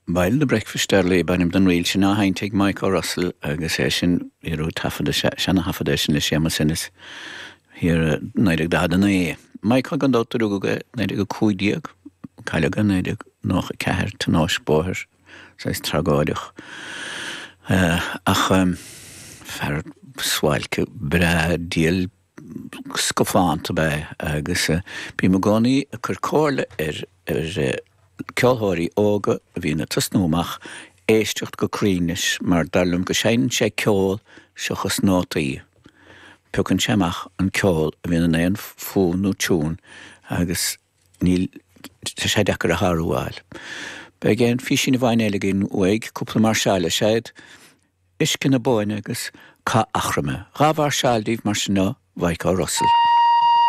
Bhuel, The Breakfast Early ab ainm don ríl sin á sheinnt ag Mike O'Russell agus é sin, bhí orthu taifead, seana-thaifead é sin le Séamus Ennis thiar i 1949. Mike gan dabht a rugadh i 1915, cailleadh i 1994, tionóisc bóthair, saghas tragóideach. Ach fear suáilce breá diail scafánta ab ea é agus bím i gcónaí ag cur comhairle ar ar ceolthóirí óga a bhíonn ag tosnú amach éisteacht go cruinn leis mar dar liom go seinneann sé ceol seachas nótaí. Piocann sé amach an ceol a bhíonn in aon fonn nó tiún agus níl tá sé deacair a shárú a fháil. Beidh aon phísín amháin eile againn uaidh, cúpla máirseáil is ea iad. Uisce na Bóinne agus Cath Eachroma. 2 mháirseáil daoibh mar sin ó Mhaidhc Ó Russell.